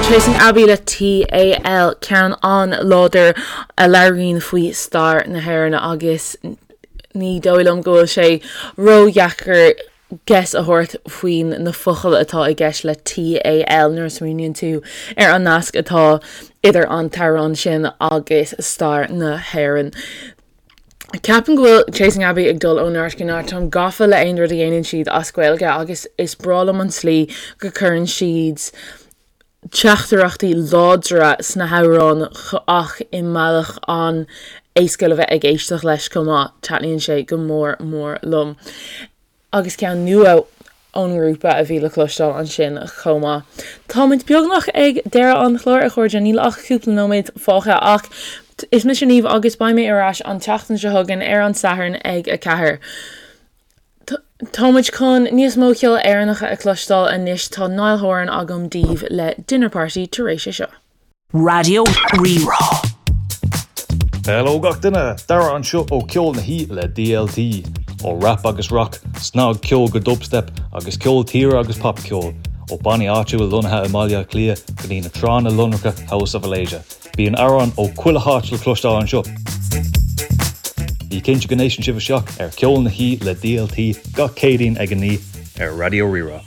Chasing Abbey le TAL, ceann an-láidir a labhraíonn faoi stair na hÉireann agus ní dóigh liom go bhfuil sé ródheacair guess a thabhairt faoin na focail atá i gceist le TAL nuair a smaoiníonn tú ar an nasc atá idir an t-amhrán sin agus stair na hÉireann. Ceapaim go bhfuil Chasing Abbey ag dul ó neart go neart. Táim gafa le aon rud a dhéanann siad as Gaeilge agus is breá liom an tslí go gcuireann siad teachtaireachtaí láidre sna hamhráin ach i mbealach an-éasca le bheith ag éisteacht leis chomh maith. Taitníonn sé go mór mór liom. Agus ceann nua ón ngrúpa a bhí le cloisteáil ansin chomh maith. Táimid beagnach ag deireadh an chláir, a chairde, níl ach cúpla nóiméad fágtha ach is mise Niamh agus beidh mé ar ais an tseachtain seo chugainn ar an Satharn ag 4. Táimid chun níos mó ceol Éireannacha a chloisteáil anois, tá Niall Horan agam daoibh le Dinner Party tar éis é seo. Raidió Rí-Rá. Hello gach duine! Dara anseo ó Ceol na hOíche le DLT. Ó rap agus rock, snagcheol go dubstep agus ceol tíre agus popcheol, ó bannaí áitiúil lonnaithe i mBaile Átha Cliath go dtí na tránna lonracha House of Alasia. Bíonn amhráin ó chuile háit le cloisteáil anseo. Bí cinnte go n-éisteann sibh isteach ar Ceol na hOíche le DLT gach Céadaoin ag 9 ar Raidió Rí-Rá.